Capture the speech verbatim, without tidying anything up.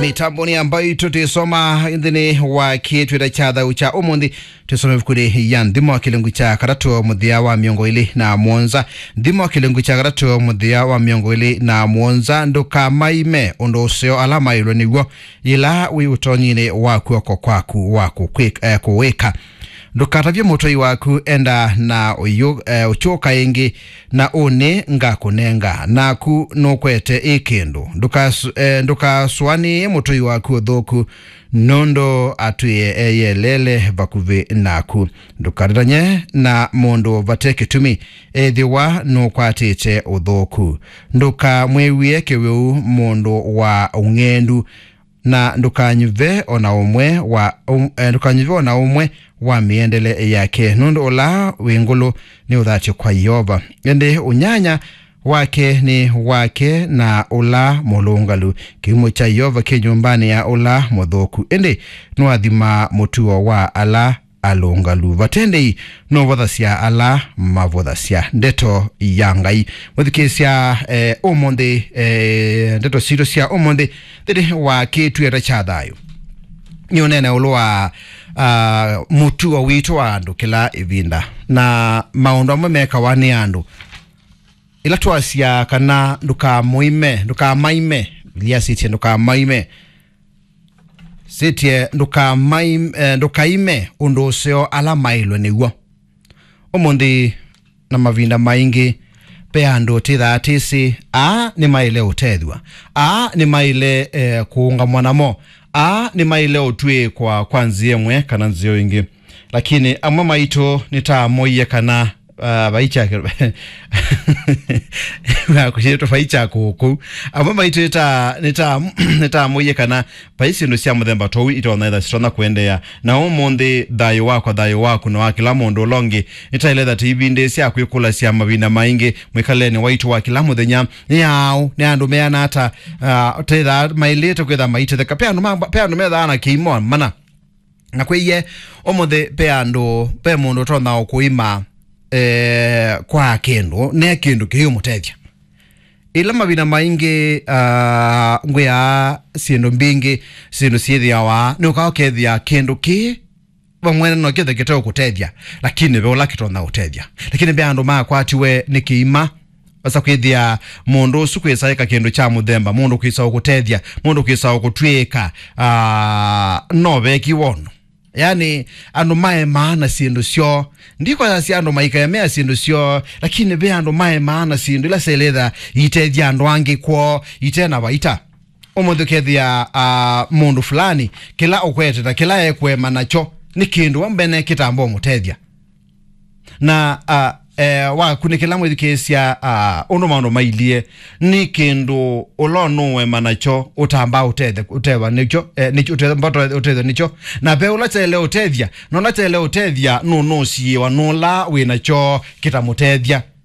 Mĩtambonĩ ya mbaitũ twĩsoma nthĩnĩ wa kĩtwĩta kya thayũ kya ũmũnthĩ. Twĩsome ĩvukunĩ ya Nthimo kĩlungu kya katatũ mũthĩa wa mĩongo ĩlĩ na mũonza. Nthimo kĩlungu kya katatũ mũthĩa wa mĩongo ĩlĩ na mũonza. Ndũkamaime ũndũ ũseo ala maĩlwe nĩw'o, yĩla wĩ ũtonyinĩ wa kw'oko kwaku wa kũkwĩk-, eh, kũwĩka. Ndũkatavye mũtũi waku, enda na ũyũ, eh, ũkyũka ĩngĩ, na ũnĩ ngakũnenga, naku nũkwete ĩ kĩndũ. Ndũkas-, eh, ndũkasũanĩe mũtũi waku ũthũku, nũndũ atwĩe eyelele vakuvĩ naku. Ndũkatetany'e na mũndũ vate kĩtumi, ethĩwa nũkwatĩte ũthũku. Ndũkamwĩw'ĩe kĩwĩu mũndũ wa ũng'endu, na ndũkanyuve o na ũmwe wa, um, eh, ndũkanyuve o na ũmwe wa mĩendele yake, nũndũ ũla wĩ ngũlũ nĩ ũthatyo kwa Yeova, ĩndĩ ũnyanya wake nĩ wake na ũla mũlũngalu. Kĩumo kya Yeova kĩ nyũmbanĩ ya ũla mũthũku, ĩndĩ nũathimaa mũtuo wa ala alũngalu. Vate ndĩi nũvothasya ala mavothasya. Ndeto ya Ngai. Mwĩthukĩĩsya, eh, ũmũnthĩ, eh, ndeto sitũ sya ũmũnthĩ nthĩnĩ wa kĩtwĩta kya thayũ. Nĩ ũnene ũlũ wa, ah, mũtuo witũ wa andũ kĩla ĩvinda, na maũndũ amwe mekawa nĩ andũ. Ĩla twasya kana ndũkamũime, ndũkamaime, Biblia sĩtye ndũkamaime. Sĩtye ndũkamaim-, eh, ndũkaime ũndũ ũseo ala maĩlwe nĩw'o. Ũmũnthĩ na mavinda maingĩ, ve andũ tĩthaa tĩsĩ, aa nĩmaĩle ũtethw'a, aa nĩmaĩle, eh, kũũngamwa namo, aa nĩmaĩle ũtw'ĩĩkwa kwa nzĩa ĩmwe kana nzĩa ĩngĩ. Lakini amwe maitũ nĩtamoie kana, ah, vai kya kĩ-, nakushĩtwe vai kya kũkũ. Amwe maitũ nĩta-, nĩta-, nĩtamoie kana vai syĩndũ sya mũthemba ta ũu itonya ĩtha sitonya kũendeea. Na ũmũnthĩ, thayũ wakwa, thayũ waku, na wa kĩla mũndũ ũla ũngĩ, nĩtaĩle ĩtha tĩivindĩĩsya kwĩkũlasya mavinda maingĩ mwĩkalĩlenĩ waitũ wa kĩla mũthenya. Nĩ aũ? Nĩ andũ meana ata, ah, tethĩwa maĩlĩte kwĩtha maitetheka? Pe andũ ma-, pe andũ methaa na kĩimo mana. Na kwĩie, ũmũnthĩ ve andũ, ve mũndũ ũtonya ũkũima, eh, kwa kĩndũ, ne kĩndũ kĩyũmũtethya. Ĩla mavinda maingĩ, ah, ngwĩaa syĩndũ mbingĩ, syĩndũ syĩthĩawa, nĩũkaa ũkethĩa kĩndũ kĩĩ vamwene no kĩthe kĩteũkũtethya, lakini ve ũla kĩtonya ũtethya. Lakini ve andũ makwatiwe nĩ kĩima, vasa kwĩthĩa mũndũ ũsu kwĩsa eka kĩndũ kya mũthemba, mũndũ kwĩsa ũkũtethya, mũndũ kwĩsa ũkũtw'ĩĩka, ah, no veki wonu. Yani, andũ maemaa na syĩndũ syoo. Ndikwasya andũ maikaemea syĩndũ syoo, lakini ve andũ maemaa na syĩndũ ila syaĩlĩtha itethya andũ angĩ kwoo ite na vaita. Ũmũnthĩ ũkethĩa, ah, mũndũ fulani, kĩla ũkwete na kĩla ekũema nakyo nĩ kĩndũ wa mbene kĩtamba ũmũtethya. Na, ah, eh, wakunĩkĩla mwĩthukĩĩsya, ah, ũndũ maũndũ mailyĩ, nĩ kĩndũ ũla ũnũũema nakyo ũtamba ũtethe-, ũtethwa nĩkyo, eh, nĩkyo, ũtamba ũte-, ũtethwa nĩkyo. Na ve ũla kyaĩle ũtethya, na ũla kyaĩle ũtethya nũnũsiĩwa nũla wĩ nakyo kĩtamũtethya.